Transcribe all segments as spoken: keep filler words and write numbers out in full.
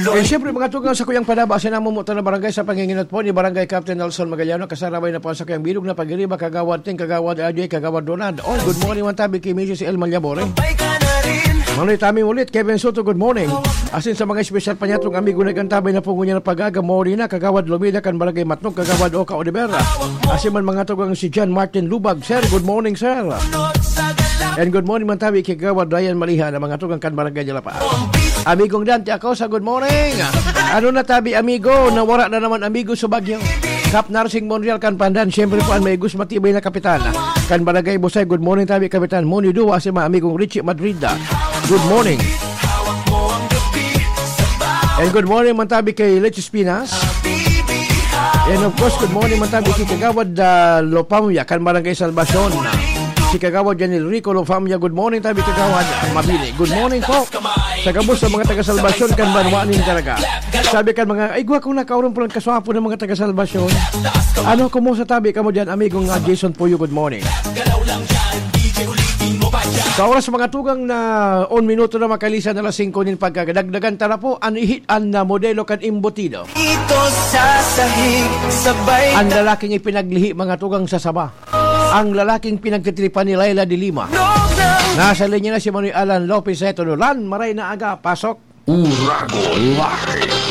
Eh, siyempre, mga tugang sa kuyang panaba, sinamumutan na barangay sa panginginat po ni Barangay Captain Nelson Magallano, kasarabay na po sa kuyang bilog na pagiriba, Kagawad Ting, Kagawad Ajoy, Kagawad Ronald. Oh, good morning, man tabi kay Missus El Malyabore. Manoy Tami ulit, Kevin Soto, good morning. Asin sa mga espesyal pa niya, itong amigo na gantabay na po ngunyan ng pag-aga, Morina, Kagawad Lumida, kan Barangay Matnog, Kagawad Oka Oliveira. Asin man mga tugang si John Martin Lubag. Sir, good morning, sir. And good morning, man tabi kay Kagawad Ryan Maliha, na mga tugang kan Barangay de la Paz. Amigong Dante Acosa, good morning. Ano na tabi, amigo? Nawara na naman, amigo, sa Bagyo. Kap Narsing Monreal kan Pandan, siyempre po ang may gus matibay na kapitan. Kan Barangay Busay, good morning tabi, Kapitan Moni Dua, si mga amigong Richie Madrid. Good morning. And good morning, man tabi kay Leches Pinas. And of course, good morning, man tabi kay Kagawad, ah, Lopamia, kan Barangay Salvacion. Si Kagawad Janil Rico Lopamia, good morning, tabi Kagawad Mabini. Good morning po. Sa gabos sa mga taga Salvacion, kan Banwa nin Caraga. Sabi kan mga, "Ay, gwa kong nakaurong pulang kaswapo ng mga taga Salvacion." Ano, kumusta tabi kamo diyan, amigong, ah, Jason Puyo? Good morning. Sa oras, mga tugang, na on minuto na makalisan na alas singko nin pagkagdagdagan, tara po, an ihi-, an, ah, modelo kan embutido. Ito sa sahig, sabay Ang lalaking ipinaglihi, mga tugang, sa saba. Ang lalaking pinagtitripan ni Laila de Lima. Nasa linya na si Manoy Alan Lopez. Eto, Lan, maray na aga, pasok. Uragon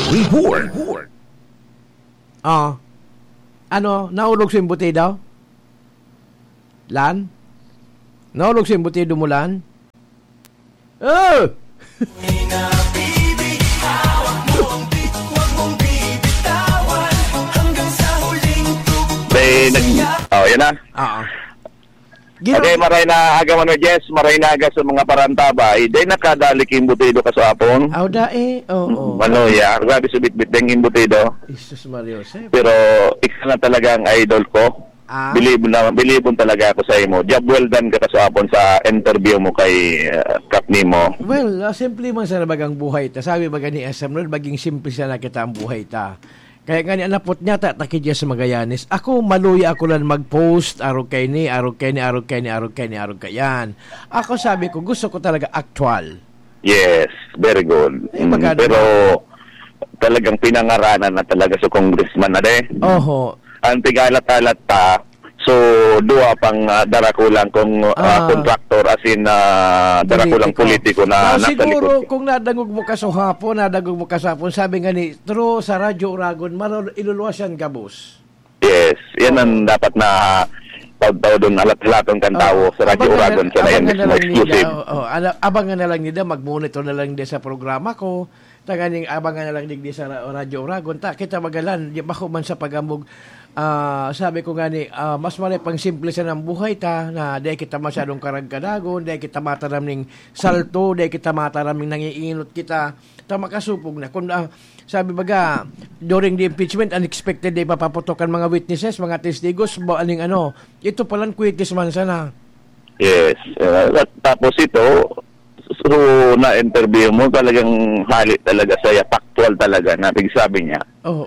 Live Report. Ah. Ano, naulog sa embutido? Lan? Naulog sa embutido mo, Lan? Oh! Be, nag-, oh, yan na. Oo. Gino- Okay, maray na aga, Manoy Jess, maray na aga sa mga parantaba. Eh, day nakadali king butido ka sa apon? Aw, da eh, oo. Manoy, ah, grabe sa bitbit ding imbutido. Jesus Maria Joseph. Pero ikaw na talaga ang idol ko. Ah? Bilibon na, bilibon talaga ako sa imo. Job well done ka kasapon sa interview mo kay, ah, Kap Nemo. Well, ah, simple man sana bagang buhay ta. Sabi baga ni S M Lord, "Maging simple sana kita ang buhay ta." Kaya nga ni, an apot niya, ta, ta ki Jess Magallanes. Ako, maluya ako lang mag-post, arog kay ni, arog kay ni, arog kay ni, arog kay ni, arog kay yan. Ako, sabi ko, gusto ko talaga actual. Yes, very good. Eh, Mm, maganda pero na. Talagang pinangaranan na talaga sa congressman na de. Oho. Ang pigalat-alat pa, so, duwa pang, ah, darakulang kung, ah, Ah. contractor, as in, ah, darakulang Politiko. politiko na Ah, nasa siguro, likod. Kung nadangog mo kasahapon, nadangog mo kasahapon, sabi nga ni, through sa Radyo Uragon, marol-, iluluwas yan gabos. Yes, yan ang Oo. dapat na taud-taudon, alat-alaton kan Oo. tawo sa Radyo Abangan na, Uragon, siya na yan abangan na mismo, lang nila, exclusive. Oo, ala-, abangan na lang nila, mag-monitor na lang nila sa programa ko. Tanganing abangan na lang digdi sa ra-, Radyo Uragon. Ta, kita magalan, di, bako man sa pagambog, ah, sabi ko nga ni, ah, mas malay pang simple sa nang buhay ta, na di kita masyadong karagkadagon, di kita mataram ning salto, di kita mataram ning nangiinot kita. Ta makasupog na. Kung, ah, sabi baga, during the impeachment, unexpected na ipapaputok ang mga witnesses, mga testigos, ba, aning ano, ito palang kwitis man sana. Yes. Ah, at tapos ito, so, na-interview mo, talagang hali talaga saya, factual talaga na pigsabi niya. Oo.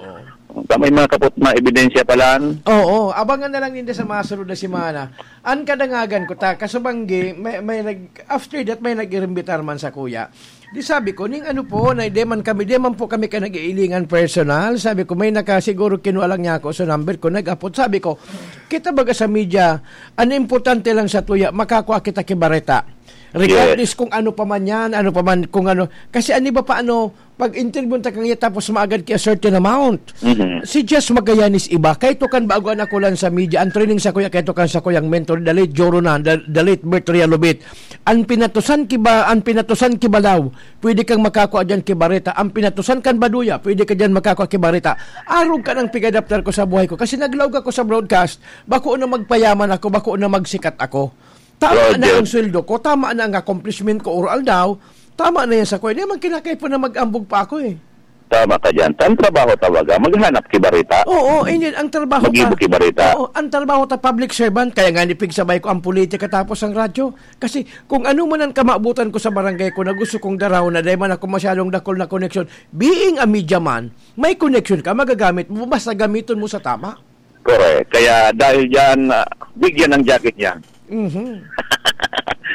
Ta may mga kapot na ebidensya palan. Oo, abangan na lang ninda sa mga sunod na semana. An kadangagan ko ta, kasubanggi, may, may nag-, after that, may nag-irimbitar man sa kuya. Di sabi ko, "Ning ano po, na, di man kami, di man po kami ka nag-iilingan personal." Sabi ko, "May naka, siguro kinuha lang niya ako sa number ko, nag-apot." Sabi ko, "Kita baga sa media, ang importante lang sa tuya, makakua kita ki bareta. Regardless Yes. kung ano pa man yan, ano pa man, kung ano." Kasi ang iba pa, ano, pag interview ta kanya tapos maagad ki a certain amount. Mhm. Si Jess Magallanes iba, kay to kan bago an ako lang sa media, ang training sa kuya, kay to kan sa kuyang mentor, the late Joro na, the, the late Bert Realobit. Ang pinatusan ki ba, ang pinatusan ki Balaw, pwede kang makakua diyan ki Bareta. Ang pinatusan kan Baduya, pwede ka diyan makakua ki Bareta. Arog ka nang pigadaptar ko sa buhay ko. Kasi naglaog ako sa broadcast, bako na magpayaman ako, bako na magsikat ako. Tama na Roger. ang sweldo ko, tama na ang accomplishment ko, or aldaw, tama na yan sa kuya. Di man kinakaipo na mag-ambog pa ako eh. Tama ka dyan. Ang trabaho talaga, maghanap ki Bareta. Oo, hindi. Ang trabaho Mag-ibo ta, ki Bareta. Oo, ang trabaho ta, public servant. Kaya nga nipigsabay ko ang politika tapos ang radyo. Kasi kung ano man ang kamabutan ko sa barangay ko na gusto kong daraw na dahil man ako masyadong dakol na connection, being a media man, may connection ka, magagamit mo, basta gamiton mo sa tama. Correct. Kaya dahil dyan, ah, bigyan ng jacket niya. Mhm.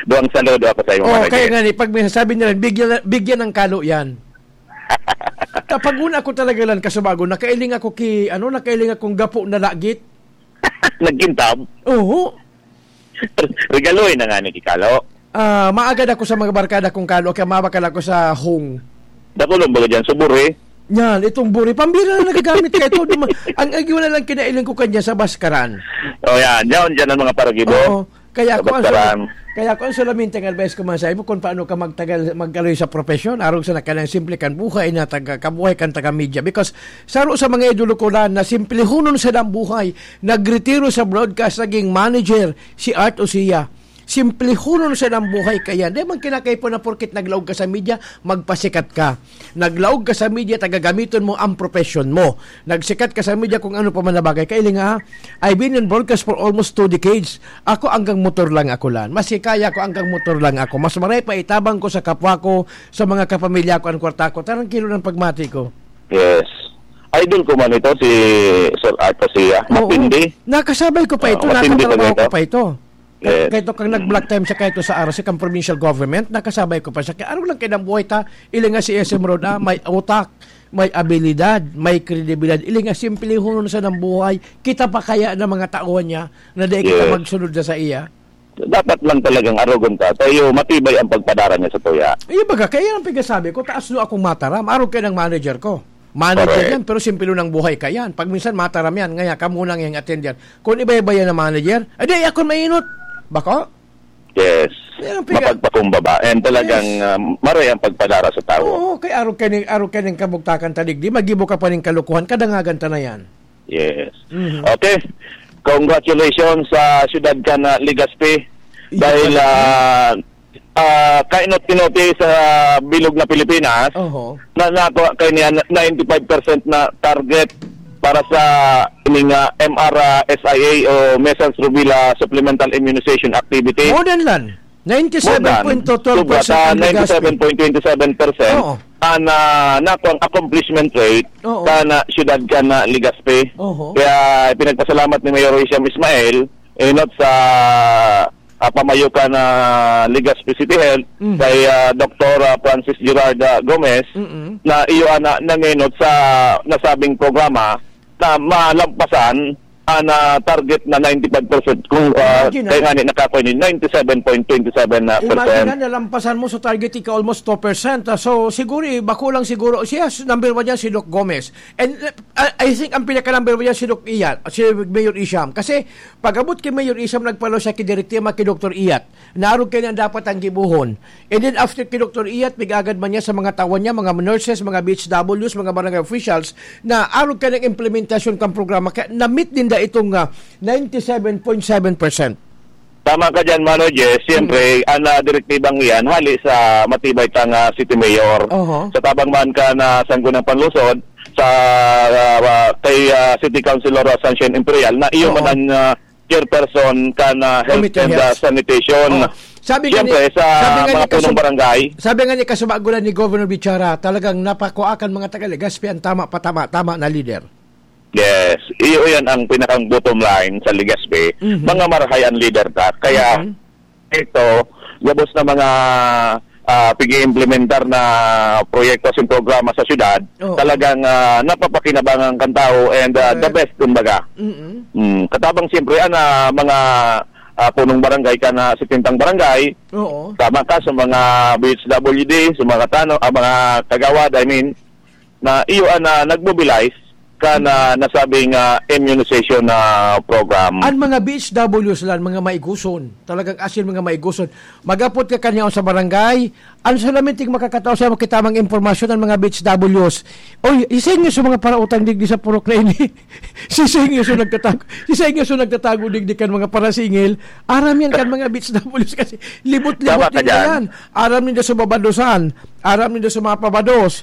Duwang saludo ako sa imo, Oh, Manoy kaya Jess. nga ni, pag may sasabi nila, bigyan, bigyan ng kalo yan. Kapag una ako talaga lang kasubago, nakailing ako ki, ano, nakailing akong gapo na lagit. Nagkintab? Oo. Regaloy na nga ni Kikalo. Ah, maagad ako sa mga barkada kong kalo, kaya mabakal ako sa hong. Dakulong baga dyan, suburi. Yan, itong buri. Pambira na nagagamit ka ito. Duma- ang, ang wala lang kinailing ko kanya sa baskaran. O yan, dyan, dyan ang mga paragibo. Oo. Kaya Sa kung ang baskaran. sul-, kaya kung ang solamente ang advice ko man sa imo, kung paano ka magtagal, magkaloy sa profesyon, arog sa nakalang simple kan buhay na taga, kabuhay kan taga media. Because saro sa mga idolo ko lang na simplehonon sa buhay, nagretiro sa broadcast, naging manager, si Art Osia. Simplehonon sa buhay kaya. Di man kinakaipo na porkit naglaog ka sa media, magpasikat ka. Naglaog ka sa media, tagagamiton mo ang profesyon mo. Nagsikat ka sa media kung ano pa man na bagay. Kailing ha, I've been in broadcast for almost two decades. Ako hanggang motor lang ako lan. Maski kaya ko hanggang motor lang ako. Mas maray pa itabang ko sa kapwa ko, sa mga kapamilya ko, ang kwarta ko. Tarangkilo ng pagmati ko. Yes. Idol ko man ito, si Sir Arta Sia. Oo. Matindi. Nakasabay ko pa Ah, ito, matindi nakatrabaho talaga ko ito. pa ito. Yes. Kahit kang nag-block time siya, kahit sa R C, kang provincial government, nakasabay ko pa siya. Kaya ano lang kayo ng buhay ta, ilinga si S M Road, ah, may utak, may abilidad, may kredibilidad. Ilinga simple hunon sa ng buhay. Kita pa kaya ng mga tauhan niya na di kita Yes. magsunod na sa iya? Dapat lang talagang arogon ka. Tayo, matibay ang pagpadara niya sa tuya. Iyo baga, kaya ang pigasabi ko, taas lo akong mataram. Arog kayo ng manager ko. Manager Correct. yan, pero simple ng buhay ka yan. Pag minsan mataram yan, ngaya ka muna ngayang attend yan. Kung iba-iba yan ang manager, adi, ako mainot. Bako? Yes. Yan ang piga- Mapagpakumbaba. And talagang Yes. ah, maray ang pagpadara sa tao. Oo, kay arog ka ning, arog ka ning kabugtakan ta digdi, magibo ka pa ning kalukuhan, kadangagan ta na yan. Yes. Mhm. Okay. Congratulations sa siyudad ka na Legazpi. Iyo Dahil pala. ah, ah, kainot-inoti sa bilog na Pilipinas, Oho. na nakuha kayo niya ninety-five percent na target para sa ining ah, M R S I A o Measles Rubella Supplemental Immunization Activity. More than lan. More than ninety-seven point two twelve percent Sobra sa ang Legazpi. ninety-seven point twenty-seven percent Oo. ang ah, nakuha ang accomplishment rate Oo. sa na, siyudad ka na Legazpi. Oho. Kaya pinagpasalamat ni Mayor Hisham Ismail, eh, not sa ah, pamayo ka na Legazpi City Health, Mhm. kay ah, Doktor ah, Francis Gerard ah, Gomez, Mm-mm. na iyo ana nangenot sa nasabing programa na malampasan ang ah, target na ninety-five percent kung ah, Imagine, kaya ah. nga ni nakakoy ni ninety-seven point twenty-seven na Imagine percent. na nalampasan mo sa target ika almost two percent. Ah, so siguro eh, bako lang siguro siya s- number one yan si Doc Gomez. And uh, I I think ang pinaka number one yan si Doc Ian, si Mayor Isham. Kasi pag-abot kay Mayor Isham, nagpalo siya kay Direk Tima, kay Doktor Iyat. Naarog kayo na dapat ang gibuhon. And then after kay Doktor Iyat, pig-agad man niya sa mga tawan niya, mga nurses, mga B H Ws, mga barangay officials, na arog ka ng implementasyon kang programa. Kaya na-meet din da itong ah, ninety-seven point seven percent. Tama ka dyan, Mano Jess. Siyempre, Mm. ang ah, direktibang iyan, hali sa matibay kang ah, City Mayor. Oho. Sa tabang man ka na sanggunang panlungsod, sa ah, kay ah, City Councilor Sunshine Imperial, na iyo Oo. man ang ah, chairperson kan ah, Health Committee on and ah, Health. Sanitation. Oh. Sabi nga ni, Siyempre, sa sabi nga mga ni punong Kasum-, barangay. sabi nga ni Kasubagulan ni Governor Bichara, talagang napakuha kan mga taga Legazpi ang tama, patama, tama na leader. Yes. Iyo yan ang pinakang bottom line sa Legazpi. Mhm. Mga marahay ang leader ta. Kaya, Mhm. ito, gabos na mga ah, pag-iimplementar na proyekto sa programa sa syudad, Oo. talagang ah, napapakinabangan kan tao and ah, the Correct. best, kumbaga. Mm-mm. Mm, katabang siyempre, ana, mga ah, punong barangay ka na setenta barangay, Oo. tama ka, sa mga B H W D, sa mga tano, ah, mga kagawad, I mean, na iyo ana nag-mobilize ka na nasabing ah, immunization na program. Ang mga B H Ws lang, mga maiguson. Talagang asin mga maiguson. Magapot ka kanyaon sa barangay. Ang solamente makakatao sa mga kitamang impormasyon ang mga B H Ws. Oy, isa inyo sa mga parautang digdi sa purok na ini. Si sa inyo sa nagtatago. Si sa inyo sa nagtatago digdi kan mga parasingil. Aram yan kan mga B H Ws kasi libot-libot Tama ka din dyan. yan. Aram nila sa babadosan. Aram nila sa mga pabados.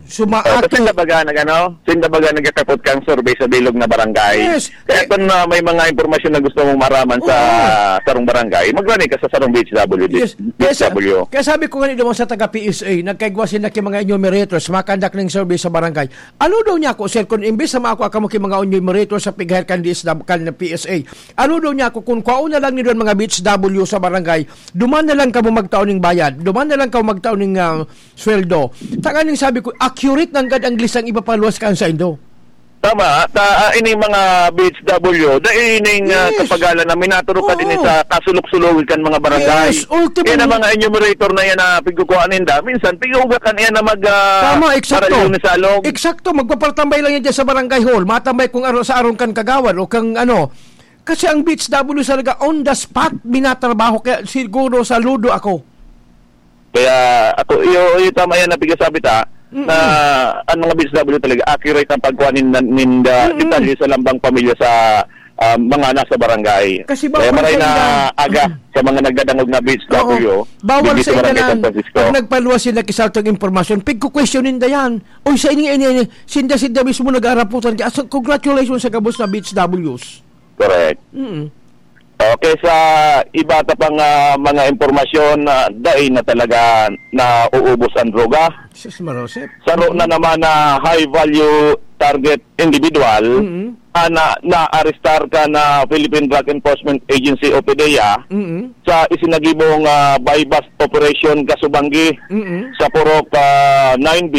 Sumaakit. Pero sinda baga nag-, ano? Sinda baga nagkakapot kang survey sa bilog na barangay. Yes. Kaya Eh, kung, ah, may mga impormasyon na gusto mong maraman sa Oo. sarong barangay, maglani ka sa sarong B H W D, Yes. Kaya sa-, B H W. kaya sabi ko nga naman sa taga P S A, nagkaigwa sila ki mga enumerators, makandak ng survey sa barangay. Ano daw niya ako, sir, kung imbis na maako ako ki mga enumerators sa pigher kan D S W, kan P S A, ano daw niya ako, kung kwao na lang ni doon mga B H W sa barangay, duman na lang kamo magtao ning bayad, duman na lang kamo magtao ning, ah, sweldo. Tanganing sabi ko, Accurate nanggad ang listang ipapaluwas kan saindo. Tama, ta, ah, ining mga B H W, dai ining, ah, Yes. kapagalan na minaturog ka Oo. din sa kasulog-sulog kan mga barangay. Yes, ultimo. Kaya na mga enumerator na yan na pigkukuhaan ninda, minsan pighuhugakan yan na mag, ah, Tama, eksakto. marayong ni salog. Eksakto, magpapartambay lang yan dyan sa barangay hall. Matambay kung aro, sa aron kan kagawad o kang ano. Kasi ang B H W talaga on the spot, minatrabaho. Kaya siguro saludo ako. Kaya ako, iyo, iyo tama yan na pigasabi ta, Mm-mm. na ang mga B H W talaga, accurate ang pagkuha nin, nin, uh, Mm-mm. detalye sa lambang pamilya sa, ah, mga nasa barangay. Kasi Kaya bawal maray sa na ila. aga sa mga nagdadangog na B H W, Oo. Bawal digdi sa sa Barangay ila San na Francisco. pag nagpaluwas sila kisaltong impormasyon, pigkukwestiyonin da yan. Oy, sa ini, ini, ini, sinda, sinda mismo nag-aaraputan. Kaya, so, congratulations sa gabos na B H Ws. Correct. Mm. Okay, sa iba ta pang, ah, mga impormasyon, ah, dai na talaga nauubos ang droga. Sus, Marosep. Saro Mm. na naman na high value target individual, Mm. ah, na, naarestar ka na Philippine Drug Enforcement Agency o PDEA Mm. sa isinagibong, ah, buy-bust operation kasubanggi Mm. sa Purok, ah, nine B,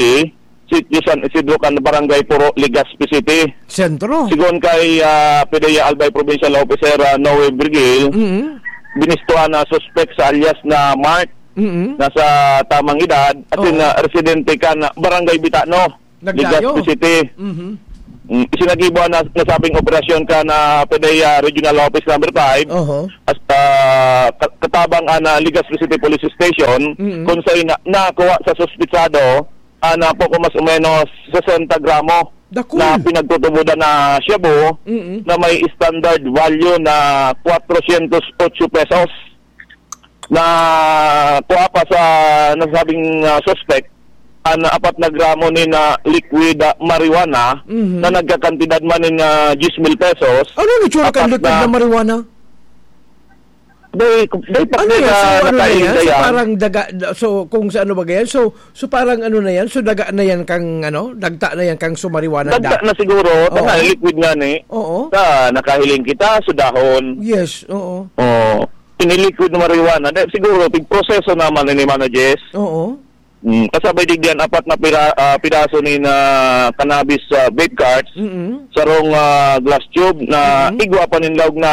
Sitio San Isidro kan Barangay Puro, Legazpi City. Sentro. Sigon kay, ah, PDEA Albay Provincial Officer, ah, Noe Virgil, Mm. binistuhan na suspek sa alias na Mark, Mm. na sa tamang edad, asin Oo. na residente kan Barangay Bitano, Nagdayo. Legazpi City. Mhm. Mm, isinagibo na nasabing operasyon kan PDEA Regional Office Number Five, Oho. hasta ka-, katabang an, ah, Legazpi City Police Station, Mm. kung saan na, nakuha sa suspitsado, ah, na poko mas o menos sesenta gramo Dakul. na pinagtutubodan na shabu Mm-mm. na may standard value na kwatrosyentos otso pesos. Na kuha pa sa nasabing, ah, suspect, an apat na gramo nin, ah, liquid, ah, marijuana Mhm. na nagkakantidad man nin, ah, diyes mil pesos. Ano ni tsura kan Apat liquid na na marijuana? Day, day pa Ano day yan? na So, ano na nakain yan? So, kaya. parang daga, so, kung sa ano ba yan? So, so, parang ano na yan? So, daga na yan kang, ano? Dagta na yan kang sumariwanan Dagta da? na siguro, Oo. tanga, liquid nga ni. Oo. Ta, nakahiling kita, sudahon. Yes, oo. Oo. Ini liquid na marijuana. Day, siguro, tigproseso naman ni Mano Jess. Oo. Mm, kasabay digdi an apat na pira-, ah, pidaso nin, ah, cannabis, ah, vape carts, Mm-mm. sarong, ah, glass tube na Mm-mm. igwa pa nin laog na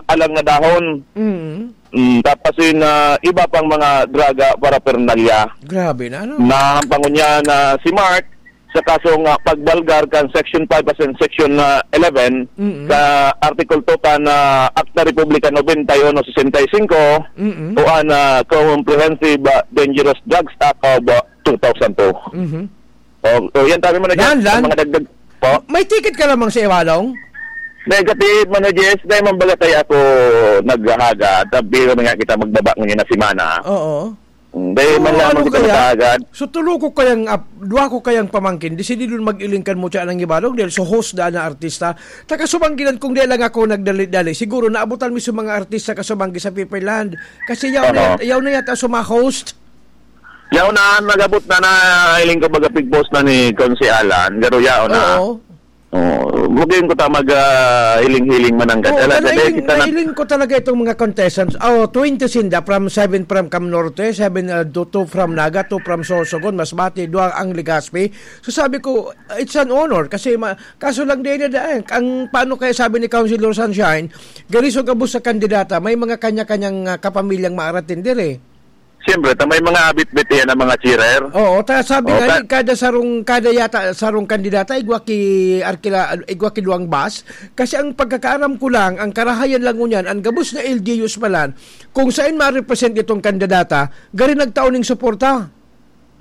alang na dahon. Mm-mm. Mm, tapos yun, ah, iba pang mga draga paraphernalia. Grabe na, ano? Nahampang niya na si Mark sa kasong, ah, pagbalgar kan Section five asin Section, ah, eleven Mm-mm. sa Article two kan, ah, Akta Republika nobenta y uno sesenta y cinco Mm-mm. o an, ah, Comprehensive, ah, Dangerous Drugs Act of, ah, two thousand two. Mhm. O, o, yan, sabi mo na dyan, Lan, Lan. ang mga dagdag po. May ticket ka lamang sa Iwalong? Negative, Mano Jess, dahil mambaga tayo ako naghahaga, tabi kami nga kita magbaba ngayon na semana. Oo. Mm, dahil So, man lamang ano kita kaya? maghahaga. So, tulo ko kayang ap-, dua ko kayang pamangkin, di sila dun mag-iling kan mo siya ng Iwalong, dahil so host daan na artista. Takasubanggilan kung di lang ako nagdali-dali. Siguro naabutan mo sa mga artista kasubanggi sa People Land. Kasi yaw na Oo. yat-, yaw na yata sa mga host. Yaw na, nag-abot na na, iling ko baga pig-post na ni Consi Alan, garo yaw na. Oo. Oh, bugin ko ta mag, ah, hiling-hiling mananggad. Oo, Alam pero ka, dahil nailing, kita na nailing ko talaga itong mga contestants. Oh, twenty sinda, from seven from Cam Norte, seven, ah, do-, two from Naga, two from Sorsogon, Masbate, dua ang Legazpi. So sabi ko, it's an honor kasi ma-, kaso lang din na ang paano kaya sabi ni Councilor Sunshine, gariso gabos sa kandidata, may mga kanya-kanyang, ah, kapamilyang maaratin dire. Siyempre, ta may mga abit-bit yan ang mga cheerer. Oo, ta sabi Oo, nga ka- ni, kada sarong, kada yata sarong kandidata, igwa ki Arkila, igwa ki duwang bus. Kasi ang pagkakaaram ko lang, ang karahayan lang ngunyan, ang gabos na L G Us palan, kung saan ma-represent itong kandidata, gari nagtao ning suporta.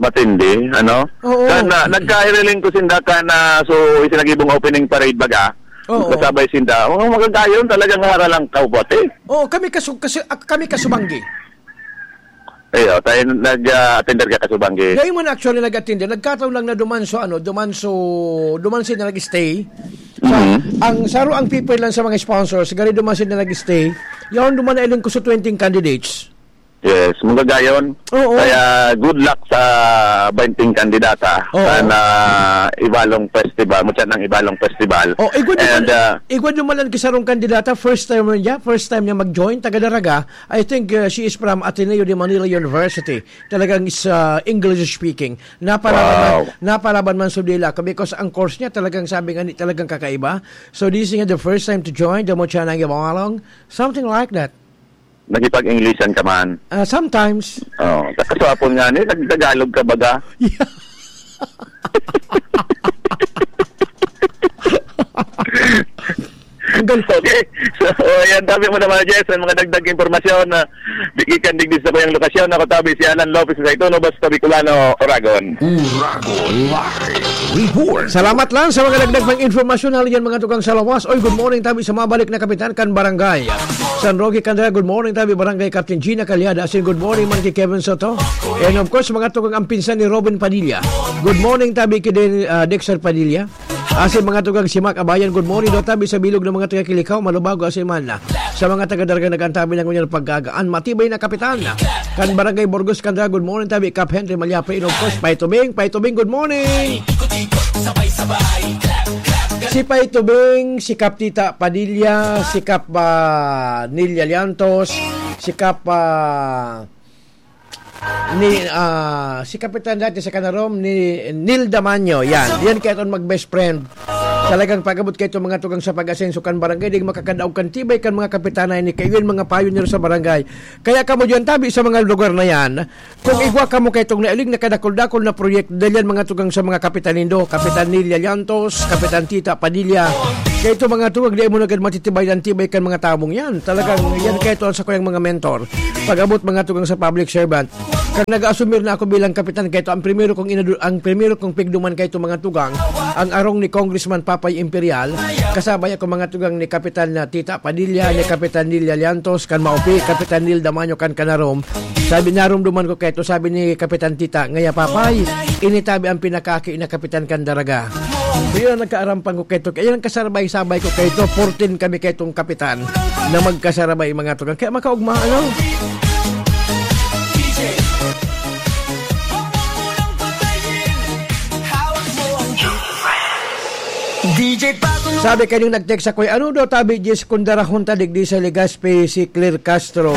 Matindi, ano? Oo. Kan, ah, nagkahiriling ko sinda kan, ah, so, isinagibong opening parade baga. Oo. Kasabay sinda. Oh, magagayon talagang haralang kaubot, eh. Oo, kami kasu-, kasi, ak-, kami kasubanggi. Ayo, tayo nag, ah, attender ka kasubanggi. Dahil mo na actually nag-attender, nagkataon lang na duman so, ano, duman so, duman sila nag-stay. Sa, Mhm. ang saro ang people lang sa mga sponsors, gari duman sila nag-stay. Yaon duman na ilang ko sa twenty candidates. Yes, magagayon. Oo. Kaya good luck sa bainting kandidata Oo. sa na Ibalong Festival, mutya ng Ibalong Festival. Oh, igwa naman, And, uh, igwa naman ang kisarong kandidata, first time niya, first time niya mag-join, taga Daraga. I think, uh, she is from Ateneo de Manila University. Talagang is, uh, English speaking. Naparaban man, Wow. naparaban man sa dila ko because ang course niya talagang sabi nga ni, talagang kakaiba. So this is the first time to join the Mutya ng Ibalong. Something like that. Nakipag-Englishan ka man? Ah, sometimes. Oh, sa kaswapon nga ni, nagtagalog ka baga? Yeah. Ang galing. Okay. So, ayan, tabi mo naman, Jess, ang mga dagdag impormasyon na di gikan digdi sa kuyang lokasyon. Ako tabi si Alan Lopez sa Itono, basta Bicolano, Oragon. Uragon Live Report. Salamat lang sa mga dagdag pang informasyon. Hali yan, mga tukang sa lawas. Oy, good morning, tabi sa mabalik na kapitan kan barangay San Roque Candela. Good morning, tabi Barangay Captain Gina Calyada. Asin good morning man kay Kevin Soto. And of course, mga tukang ang pinsan ni Robin Padilla. Good morning, tabi kay Den-, ah, Dexter Padilla. Asin mga tukang si Mac Abayan, good morning daw tabi sa bilog ng mga taga Kilikhaw, Malubago, asin man na. Sa mga taga Daraga nag-antabi na ngunyan pagkagaan, matibay na kapitan. Kan Barangay Burgos, Candela, good morning tabi, Kap Henry Malyape, and of course, Pay Tubing, Pay Tubing, good morning! Si Pay Tubing, si Kap Tita Padilla, si Kap, ah, Nelia Liantos, si Kap, ah, ni, ah, si Kapitan dati sa Canarom, ni Neil Damanyo. Yan. Yan kaya itong mag-best friend. Talagang pag-abot kayo itong mga tugang sa pag-asenso kan barangay, di makakadaog kan tibay kan mga kapitana ini. Kayo yung mga pioneer sa barangay. Kaya kamo diyan, tabi sa mga lugar na yan, kung igwa kamo kayo itong nailing na kadakol-dakol na proyekto, dahil yan mga tugang sa mga kapitan nindo, Kapitan Neil Llantos, Kapitan Tita Padilla, kayo itong mga tugang, di mo na agad matitibay ang tibay kan mga tabong yan. Talagang yan kayo ito ang sa kuyang mga mentor. Pag-abot mga tugang sa public servant, kan nag-asumir na ako bilang kapitan, kaya ito ang primero kong inadu-, ang primero kong pigduman kaya ito mga tugang, ang arong ni Congressman Papay Imperial, kasabay ako mga tugang ni Kapitan na Tita Padilla, ni Kapitan Neil Llantos, kan Maupi, Kapitan Neil Damanyo, kan Canarom. Sabi, narumduman ko kaya ito, sabi ni Kapitan Tita, ngaya Papay, initabi ang pinakaki na kapitan kan Daraga. Yun ang nagkaarampang ko kaya ito, kaya ang kasabay-sabay ko kaya ito, fourteen kami kaya itong kapitan. Na magkasarabay, mga tugang. Kaya makaugma, ano? D J Paco. Sabi kaning nag-text ako, "Ano daw tabi, Jess, kung darahon ta digdi sa Legazpi si Claire Castro?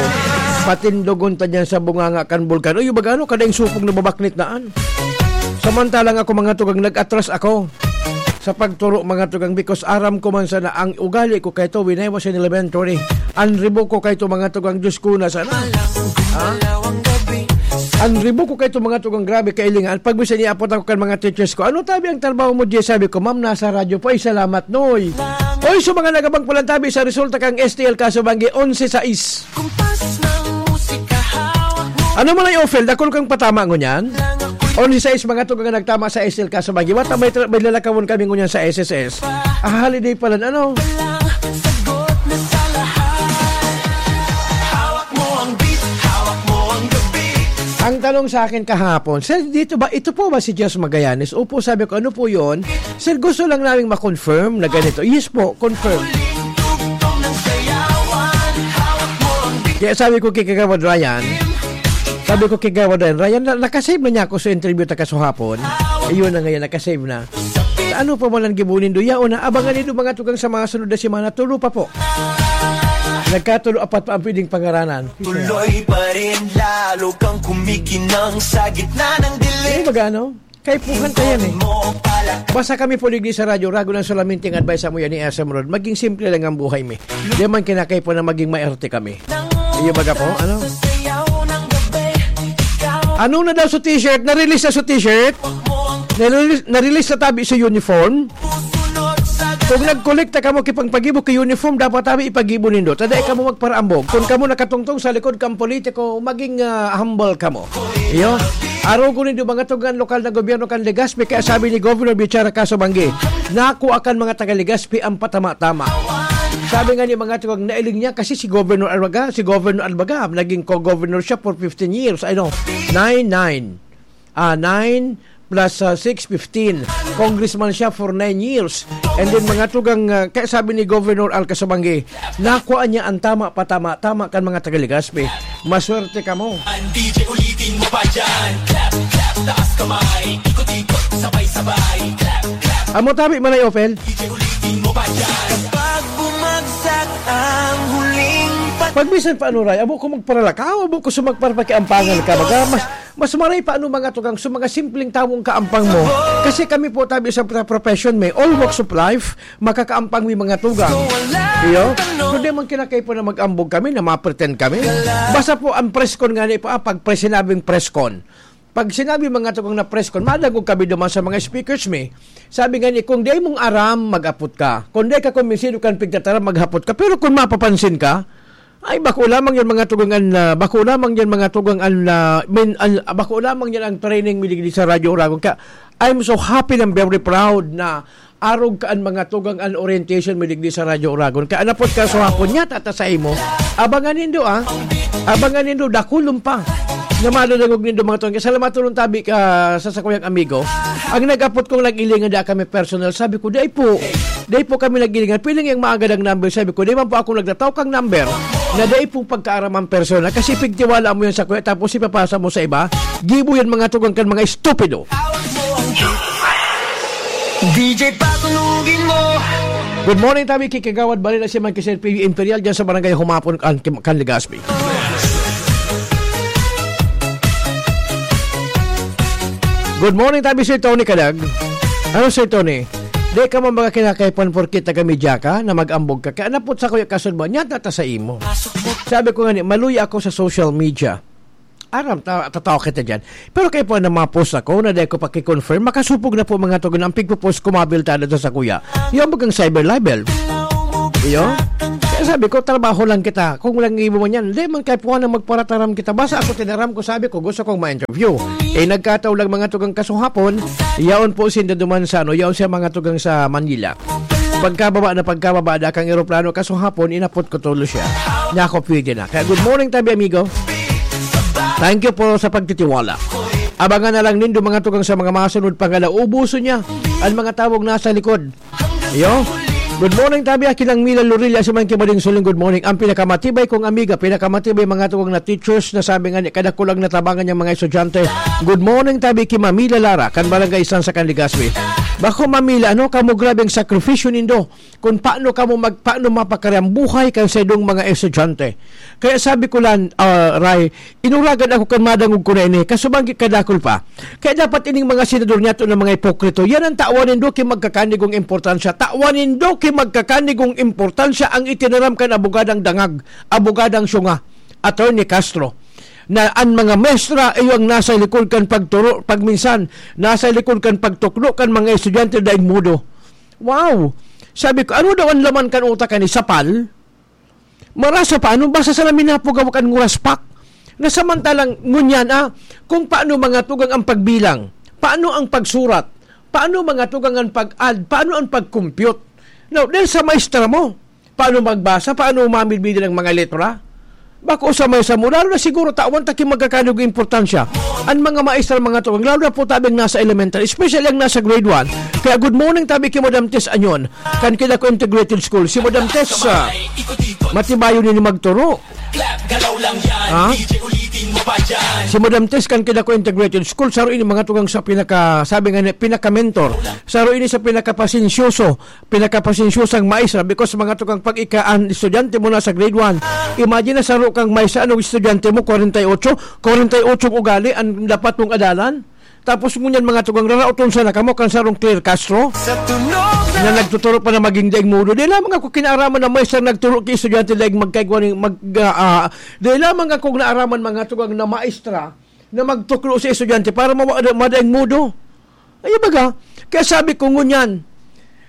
Patindogon ta diyan sa bunganga kan bulkan." Uy, baga ano, kada yung supog na babaknit na, an? Samantalang ako, mga tugang, nag-atras ako sa pagturo, mga tugang, because aram ko man sana ang ugali ko kay to when I was in elementary. Ang ribok ko kay to, mga tugang, Diyos ko na sana. Ha? Ang ribok ko kay to, mga tugang, grabe kailingan. Pag bisa niya apot ako kan mga teachers ko, "Ano tabi ang trabaho mo, Jay?" Sabi ko, "Ma'am, nasa radyo po." "Ay, salamat, Noy." Oy, sa mga nagabang palantabi sa resulta kang S T L Kaso Banggi, onse sais. Kumpas ng musika, hawak mo. Ano man ay ofel, dakul kang patama ngunyan? Onse sais, mga tugang, nagtama sa S L Kaso Banggi. Wata may tra-, may lalakawon kami ngunyan sa S S S. Ah, holiday pala, ano? Sagot na sa lahat. Hawak mo ang beat, hawak mo ang gabi. Ang tanong sa akin kahapon, "Sir, dito ba, ito po ba si Jess Magallanes?" "Opo," sabi ko, "Ano po yun?" "Sir, gusto lang naming ma-confirm na ganito." "Yes po, confirm." Kaya sabi ko kay Kagawad Ryan, sabi ko kay Kagawad Ryan, "Ryan, na, nakasave na niya ako sa interview ta kasuhapon." Ayun na ngayon, nakasave na. Ano pa man ang gibo nindo? Yaon na, abangan nindo mga tugang sa mga sunod na semana. Tulo pa po. Nagkatulo, apat pa ang pwedeng pangaranan. Tuloy pa rin, lalo kang kumikinang sa gitna ng dilim. Eh, magano? Kaipuhan ka yan eh. Mo pala. Basta kami po ligdi sa radyo, rago lang solamente ang advice mo yan ni S M Rod. Maging simple lang ang buhay mi. Di man kinakaipo na maging maerte kami. Iyo baga po, ano? Ano na daw sa t-shirt? Na-release na sa t-shirt? Na-release, na-release na tabi sa uniform? Kung nagkolekta kamo kipang pagibo ki uniform, dapat tabi ipagibo nindo. Tada kamo magparaambog. Kung kamo nakatungtong sa likod kang politiko, maging, ah, humble kamo. Iyo. Arogon nindo mga tugang lokal na gobyerno kan Legazpi, kaya sabi ni Governor Bichara Kaso Banggi, "Naku akan mga taga Legazpi ang patama-tama." Sabi nga ni mga tugang, nailing niya kasi si Governor Albaga, si Governor Albaga, naging co-governor siya for fifteen years. Ano? Nine, nine. Ah, nine, plus, ah, six fifteen. Congressman siya for nine years. And then, mga tugang, ah, kaya sabi ni Governor Al Kasabanggi, nakuha niya ang tama pa tama-tama kan mga taga Legazpi. Maswerte kamo. Ang D J ulitin mo pa dyan. Clap, clap, taas kamay. Ikot-ikot, sabay-sabay. Clap, clap. Amo tabi, Manay Ophel? D J ulitin mo pa dyan. Kapag bumagsak ang huling pat- Pag minsan pa, ano, Ray, abo ko magparalakaw, abo ko sumagparpakiampangan ka. Baga, mas, mas maray pa, ano, mga tugang, sa mga simpleng tawong kaampang mo. Kasi kami po, tabi sa pro-, profession, may all walks of life, makakaampang may mga tugang. Iyo? Kundi man kinakay po na mag-ambog kami, na ma-pretend kami. Basta po, ang press con nga ni po, ah, pag pre-, sinabing press con. Pag sinabi mga tugang na press con, madangog kami duman sa mga speakers mi. Sabi nga ni, "Kung di mong aram, mag-apot ka. Kung di ka kumbinsido kan pigtataram, maghapot ka. Pero kung mapapansin ka, ay, bako lamang yan mga tugang an, ah, bako lamang yan mga tugang an, ah, min-, an, bako lamang yan ang training mi digdi sa Radyo Oragon." Kaya, I'm so happy and very proud na arog ka an mga tugang an orientation mi digdi sa Radyo Oragon. Kaya anapot ka sa hapon niya, tata sa imo. Abangan nindo, ah. Abangan nindo, dakulon pa. Na madadangog nindo mga tugang. Salamat tulong tabi ka sa sakuyang amigo. Ang nag-apot kong nag-ilingan, da kami personal. Sabi ko, "Dai po. Dai po kami nag-ilingan. Piling yung maagad ang number." Sabi ko, "Di man po ako nagtataw kang number na dai po pagkaaraman personal. Kasi pigtiwala mo yan sa kuya, tapos ipapasa mo sa iba. Gibo yan mga tugang kan mga estupido." D J, patunugin mo. Good morning, tabi ki Kagawad Balila, si Mike Sir P V Imperial, dyan sa Barangay Humapon, kan, kan Legazpi. Good morning, tabi Sir Tony Kadag. Ano, Sir Tony? Di ka man baga kinakaipan porke taga-media ka, na mag-ambog ka. Kaya napot sa kuya kasud ba? Nya tata sa imo. Sabi ko nga ni, maluya ako sa social media. Aram, ta-, tatawa kita dyan. Pero kayo po na mga post ako, na dahil ko pakiconfirm, makasupog na po mga tugon ang pigpo-post ko, mabilta na sa kuya. Yung bagang cyber libel. Iyo? Kaya sabi ko, trabaho lang kita. Kung walang ibo man yan, di man kayo po na magparataram kita. Basta ako tinaram ko, sabi ko, gusto kong ma-interview. Eh, nagkataon lang mga tugang kasuhapon, yaon po sinda duman sa, ano, yaon siya mga tugang sa Manila. Pagkababa na pagkababa na kang eroplano, kasuhapon, inapot ko tulo siya. Nako, pwede na. Kaya good morning, tabi amigo. Thank you po sa pagtitiwala. Abangan na lang nindo mga tugang sa mga masunod pangala. Ubuso niya ang mga tawag nasa likod. Yo. Good morning, tabi. Aki lang Mila Lorilla sa man kibading suling. Good morning. Ang pinakamatibay kong amiga, pinakamatibay mga tugang na teachers na sabi nga ni, kada kulang natabangan niyang mga estudyante. Good morning, tabi, ki Mamila Lara, kan Barangay San sa kan Legazpi. Bako, Mamila, ano, kamo grabe ang sakripisyo nindo. Kung paano kamo mag-, paano mapakari ang buhay kan saindong mga estudyante. Kaya sabi ko lang, ah, Ray, inuragan ako kan madangog ko na ini, kasubang kadakol pa. Kaya dapat ining mga senador niyato na mga ipokrito, yan ang tawan nindo ki magkakanigong importansya. Tawan nindo ki magkakanigong importansya ang itinaram kan abogadang dangag, abogadang syunga, Attorney Castro, na ang mga mestra iyo ang nasa likod kan pagturo, pagminsan, nasa likod kan pagtukdo kan mga estudyante daing mudo. Wow! Sabi ko, ano daw ang laman kan utak ni Sapal? Marasa pa, ano? Basta sana minapugaw kan nguraspak. Na samantalang ngunyan, ah, kung paano mga tugang ang pagbilang, paano ang pagsurat, paano mga tugang ang pag-add, paano ang pag-compute. Now, dahil sa maestra mo, paano magbasa, paano mamidbidin ang mga letra? Bako sa may samo, lalo na siguro tawan ta ki magkakanigong importansya. Ang mga maestra, mga tugang, lalo na po tabi ang nasa elementary, especially ang nasa grade one. Kaya good morning tabi ki Madam Tess Anyon, kan Kidako Integrated School. Si Madam Tess, ah, matibayon ini magturo. Ha? Si Madam Tess kan Kidako Integrated School, saro ini mga tugang sa pinaka, sabi nga ni, pinaka-mentor. Saro ini sa pinakapasensyoso, pinakapasensyosang maestra, because mga tugang, pag ika, ang estudyante mo na sa grade one, imagine na saro kang maestra, anong estudyante mo, kwarenta y ocho? Kwarenta y ocho ugali ang dapat mong adalan? Tapos ngunyan mga tugang, raraoton sana kamo kan sarong Claire Castro na nagtuturo pa na maging daing mudo. Di lamang ako kinaaraman na maestra nagturo ki estudyante daing magkaigwa ni mag, ah, ah, di lamang ako naaraman mga tugang na maestra na magtuklo sa estudyante para mawa-, madaing mudo. Ay, baga, kaya sabi ko ngunyan,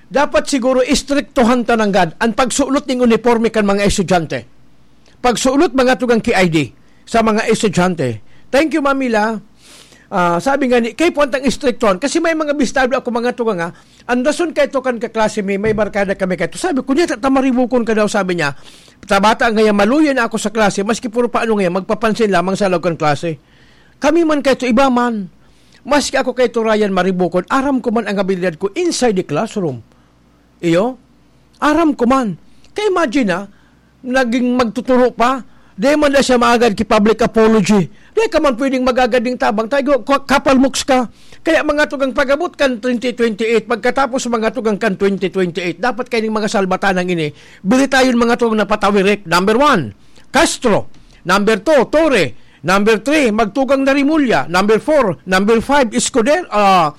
dapat siguro istriktuhan ta nanggad ang pagsulot ning uniporme kan mga estudyante. Pagsulot mga tugang ki I D sa mga estudyante. Thank you, Mamila. Ah, sabi nga ni, kay puwantang istriktuhan. Kasi may mga bistado ako mga tugang, ha. Ang rason kay to kan kaklase mi, may barkada kami kay to. Sabi ko, "Niya, ta-, tamaribukon ka daw," sabi niya. "Tabata ngayon, maluya na ako sa klase, maski puro paano ngayon, magpapansin lamang sa loob kan klase." Kami man kay to, iba man. Maski ako kay Ryan Maribukon, aram ko man ang abilidad ko inside the classroom. Iyo? Aram ko man. Kaya imagine, ah, naging magtuturo pa, di man na siya maagad ki public apology. Di ka man pwedeng magagad ning tabang, tayo, ka-, kapalmoks ka. Kaya mga tugang pag-abot kan twenty twenty-eight, pagkatapos mga tugang kan twenty twenty-eight, dapat kaining mga salbatanang ini, bilitayon mga tugang na patawirik. Number one, Castro. Number two, Torre. Number three, magtugang na Rimulya. Number four, number five, Escudero, ah,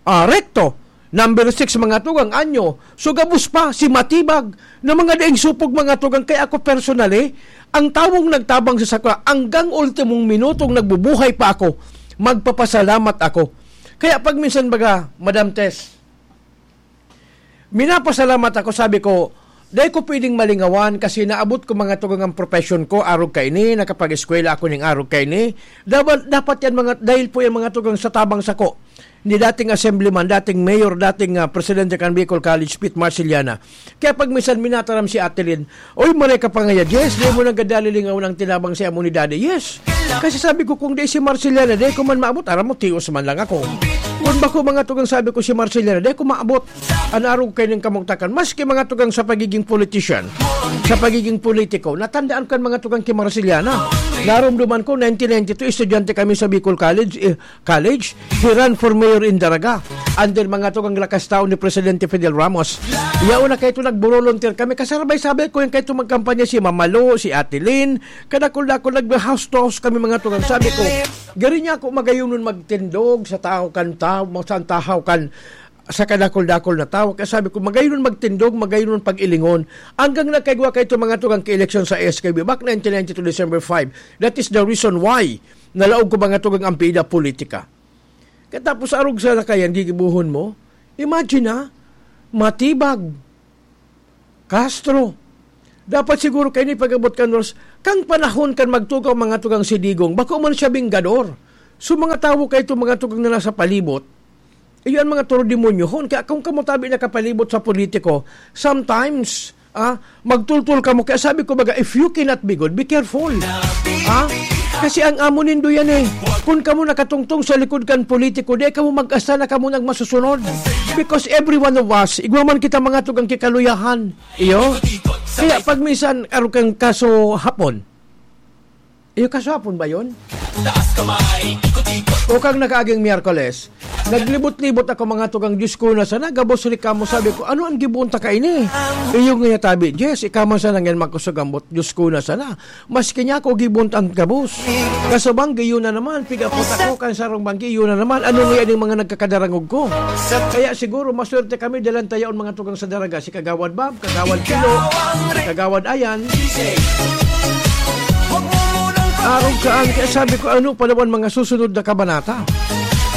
ah, Recto. Number six, mga tugang, Anyo. So, gabos pa, si Matibag, na mga daing supog, mga tugang. Kaya ako personally, ang tawong nagtabang sa sakwa, hanggang ultimong minutong nagbubuhay pa ako, magpapasalamat ako. Kaya pag minsan baga, Madam Tess, minapasalamat ako, sabi ko, "Dai ko pwedeng malingawan kasi naabot ko, mga tugang, ang profession ko, arog kaini, nakapag-eskwela ako ning arog kaini. Dapat, dapat yan, mga, dahil po yan, mga tugang, sa tabang sako ni dating assemblyman, dating mayor, dating, ah, presidente kan Bicol College, Pete Marcellana." Kaya pag minsan minataram si Ate Lynn, "Oy, maray ka pa ngaya, Jess, di mo nang gadali lingawan ang tinabang sa amo ni Daddy." Yes. Kasi sabi ko, kung di si Marcellana, di ko man maabot, aram mo, tios man lang ako. Kung bako, mga tugang, sabi ko, si Marcellana, di ko maabot. An arog kaining kamugtakan. Maski, mga tugang, sa pagiging politician, sa pagiging politiko, natandaan ko an, mga tugang, ki Marcellana. Narumduman ko, nineteen ninety-two, estudyante kami sa Bicol College, eh, College, he ran for mayor in Daraga, under, mga tugang, lakas tao ni Presidente Fidel Ramos. Yaon na kaito nagbolunteer kami, kasabay-sabay ko yan kaito magkampanya, si Mama Lo, si Ate Lynn, kadakul-dakul nag-house to house kami, mga tugang. Sabi ko, gari niya ako magayon nun magtindog sa tao kan tao, sa tahaw kan, sa kadakul-dakul na tao. Kaya sabi ko, magayon nun magtindog, magayon nun pag-ilingon. Hanggang nagkaigwa kaito, mga tugang, ki-eleksyon sa S K B, back nineteen ninety-two, December five. That is the reason why nalaog ko, mga tugang, ang pida politika. Katapos arog sa lakayan, gigibuhon mo. Imagine, ha? Matibag. Castro. Dapat siguro kaini pag-abot kan oras, kang panahon kan magtugaw, mga tugang, si Digong, bako man siya binggador. So, mga tawo kaito, mga tugang, na nasa palibot, iyo an mga toro demonyohon. Kaya kung kamo tabi nakapalibot sa politiko, sometimes, ah, magtultol kamo. Kaya sabi ko, baga, "If you cannot be good, be careful." Ah? Kasi ang amo nindo yan eh. Kung kamo nakatungtong sa likod kan politiko, di kamo mag-asa na kamo nang masusunod. Because every one of us, igwa man kita, mga tugang, ki kaluyahan. Iyo? Kaya pag minsan, arog kang kaso hapon. Iyo, kaso hapon ba yun? O kang nakaaging Miyerkules, naglibot-libot ako, mga tugang, "Diyos ko na sana, gabos reklamo." Sabi ko, "Ano ang giboon ta kaini?" Iyo nga tabi, "Yes, ikaw man sana ngayon magkusog ang bot, Diyos ko na sana." Maski niya ako giboon ta ang gabos. Kaso banggi, yun na naman, pigapot ako, kan sarong banggi, yun na naman. Ano nga yan yung mga nagkakadarangog ko? Kaya siguro, maswerte kami, dalan tayaon, mga tugang, sa Daraga, si Kagawad Bab, Kagawad Pilo, Kagawad Ayan. Arog saan, kaya sabi ko, ano pa naman mga susunod na kabanata?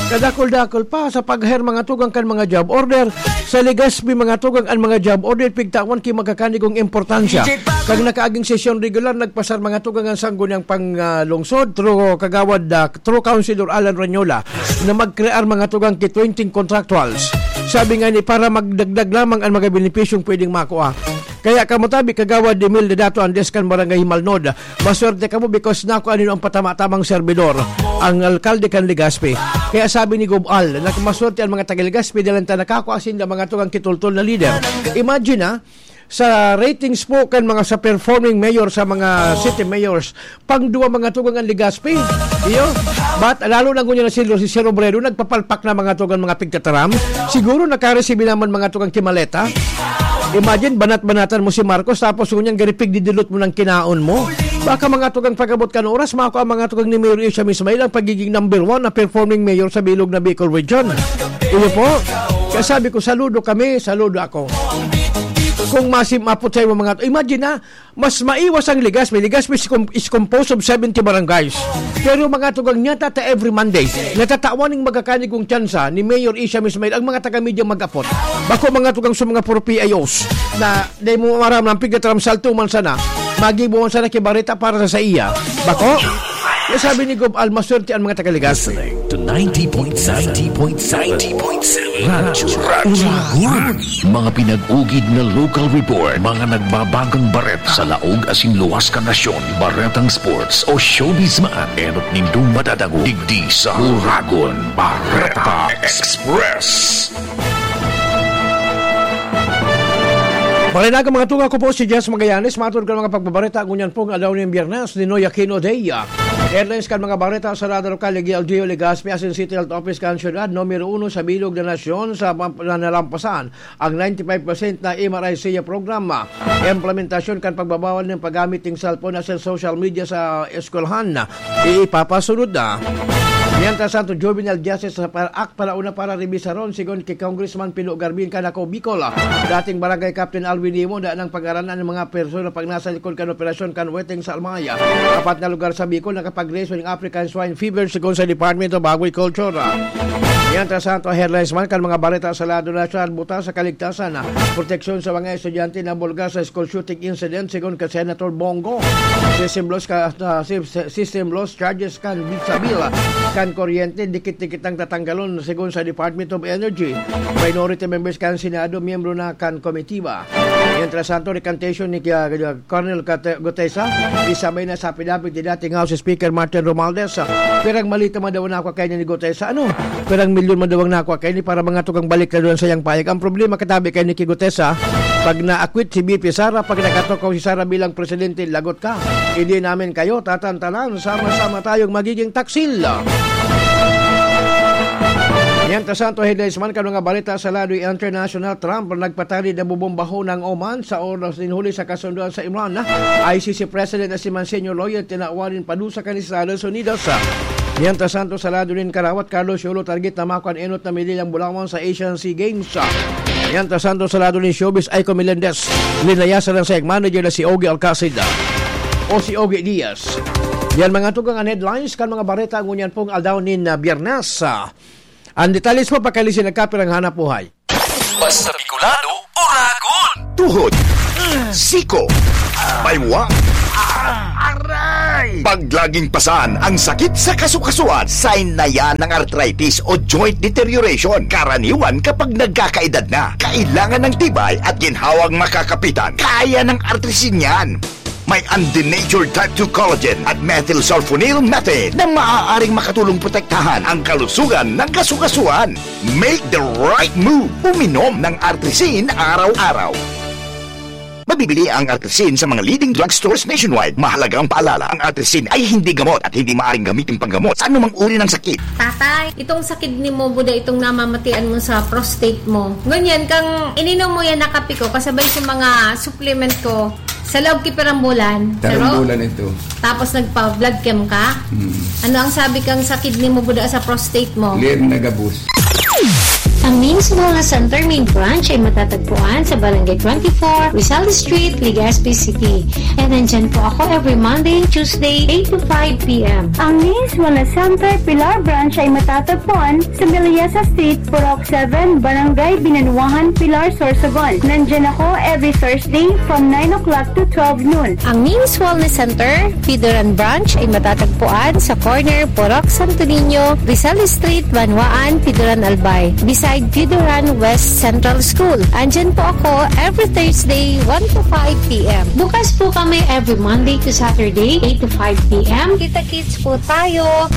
Kadakol-dakol pa sa pag-hire, mga tugang, kan mga job order. Sa Legazpi, mga tugang, an mga job order, pigtawan ki magkakanigong importansya. Kag nakaaging sesyon regular, nagpasar, mga tugang, ang sangguniang pang, ah, lungsod, through Kagawad, ah, through Councilor Alan Ranyola, na magkrear, mga tugang, ki twenty contractuals. Sabi nga ni, para magdagdag lamang ang mga benepisyong pwedeng makua. Kaya kamo tabi, Kagawad Emil Dedato Andes kan Barangay Himalnod. Maswerte kamo because nako ano ang patama-tamang serbidor, ang alkalde kan Legazpi. Kaya sabi ni Gob Al, na maswerte ang mga taga Legazpi dahil ta nakakua sinda mga tugang kitultol na lider. Imagine, ha, sa ratings po kan mga sa performing mayor, sa mga city mayors, pang duwa mga tugang ang Legazpi. Iyo? But lalo na ngunyan na si, si Sir Robredo, nagpapalpak na mga tugang mga pigtataram. Siguro nakaresibi naman mga tugang kimaleta. Imagine, banat-banatan mo si Marcos, tapos ngunyan garipig didilot mo ng kinaon mo. Baka mga tugang pag-abot kan oras, mako ang mga tugang ni Mayor Isham Ismail ang pagiging number one na performing mayor sa bilog na Bicol Region. Iyo po. Kaya sabi ko, saludo kami, saludo ako. Kung masim-, mapot sa'yo mga, imagine na, mas maiwas ang Legazpi. Legazpi is, com-, is composed of seventy barangays. Pero mga tugang niya, tata every Monday, natatawan ng magkakanigong tsansa ni Mayor Isham Ismail ang mga taga-media mag-apot. Bako mga tugang sa mga puro P I Os na di mo maram ng pigataram salto man sana, magibo man sana kibareta para sa, sa iya. Bako? Kaya sabi ni Gob Al, maswerte ang mga taga-Legazpi. ninety point seven, ninety point seven, ninety point seven Radyo Uragon. Mga pinag-ugid na local report, mga nagbabagong bareta sa laog asin luwas kan nasyon, baretang sports o showbiz man, enot nindong madadangog digdi sa Uragon Bareta Express. Magandang aga, mga tugang, ako po si Jess Magallanes. Matod kan mga pagbabareta ngunyan pong aldaw nin Biyernes, Ninoy Aquino Day. Headlines kan mga bareta sa Radyo Lokal, G L G U, Legazpi asin City Health Office kan siyudad, numero uno sa bilog na nasyon sa pam-, na nalampasan ang ninety-five percent na M R I C program. Implementasyon kan pagbabawal nin paggamit nin cellphone asin social media sa eskwelahan, ipapasunod na. Mientras tanto, Juvenile Justice Act palauna para rebisaron, sigon ki Congressman Pino Garbin kan Ako Bicol. Dating Barangay Captain Alvin Nimo, dai nang pag-aranan ang mga persona pag nasa likod kan operasyon kan Weteng sa Almay. Apat na lugar sa Bicol nakapag-reso ning African Swine Fever, sigon sa Department of Agriculture. Mientras tanto, headlines man kan mga bareta sa lado nasyonal, buta sa kaligtasan, proteksyon sa mga estudyante na bulga sa school shooting incident, sigon ka Senator Bongo. System loss ka, ah, sys-, system loss charges kan sa bill kan kuryente, dikit-dikit ang tatanggalon, sigon sa Department of Energy. Minority members kan Senado, miyembro na kan komitiba. Mientras tanto, recantation ni, ah, Colonel Gute-, Gutesa, isabay na sa affidavit ni dating House Speaker Martin Romualdez. Pirang maleta man daw nakwa kaini ni Gutesa. Ano? Pirang milyon man daw ang nakwa kaini para mga tugang balik na doon sa iyang payag. Ang problema, katabi kaini ki Gutesa, pag na-acquit si V P Sara, pag nakatukaw si Sara bilang presidente, lagot ka. Hindi namin kayo tatantanan. Sama-sama tayong magiging taksil. Mientras tanto, headlines man kan mga balita sa lado international, Trump nagpatarid na bobombaho ng Oman sa oras nin huli sa kasundoan sa Iran. I C C President na si Monsignor Loyer tinawan nin padusa kan Estados Unidos. Mientras tanto, sa lado nin karawat, Carlos Yolo target na makua an enot na medalyang bulawan sa Asian Sea Games. Mientras tanto, sa lado nin showbiz, Aiko Melendez, linayasan ang sayang manager na si Ogie Alcacid o si Ogie Diaz. Yan, mga tugang, an headlines kan mga bareta ngunyan pong aldaw nin, ah, Biyernes. Ah, an detalles po, pakalisin nagkapirang hanap buhay. Basta Bicolano, Uragon! Tuhod, siko, baywa, aray! Pag laging pasan ang sakit sa kasukasuan, sign na yan ng arthritis o joint deterioration. Karaniwan kapag nagkakaedad na, kailangan ng tibay at ginhawang makakapitan. Kaya ng Artrisin yan. May undenatured type two collagen at methylsulfonyl methane na maaaring makatulong protektahan ang kalusugan ng kasukasuan. Make the right move. Uminom ng Artrisin araw-araw. Mabibili ang Artrisin sa mga leading drugstores nationwide. Mahalagang paalala, ang Artrisin ay hindi gamot at hindi maaaring gamitin panggamot sa anumang uri ng sakit. Tatay, itong sakit ni mo, buda itong namamatian mo sa prostate mo. Ngunyan, kang ininom mo yan na kape ko, kasabay sa mga supplement ko, sa loob ki pirang bulan. Pirang bulan ito. Tapos nagpa-blood chem ka? Hmm. Ano ang sabi kang sa kidney mo, buda sa prostate mo? Lir na gabos. Ang Names Wellness Center main branch ay matatagpuan sa Barangay twenty-four, Rizal Street, Legazpi City. And nandyan po ako every Monday and Tuesday, eight to five p m. Ang Names Wellness Center Pilar branch ay matatagpuan sa Melissa Street, Purok seven, Barangay Binanuahan, Pilar, Sorsogon. Nandyan ako every Thursday from nine o'clock to twelve noon. Ang Names Wellness Center, Pidoran Branch, ay matatagpuan sa corner Purok Santo Niño, Rizal Street, Banwaan, Pidoran, Albay, beside Pidoran West Central School. Andyan po ako every Thursday, one to five p m. Bukas po kami every Monday to Saturday, eight to five p m. Kita-kits po tayo.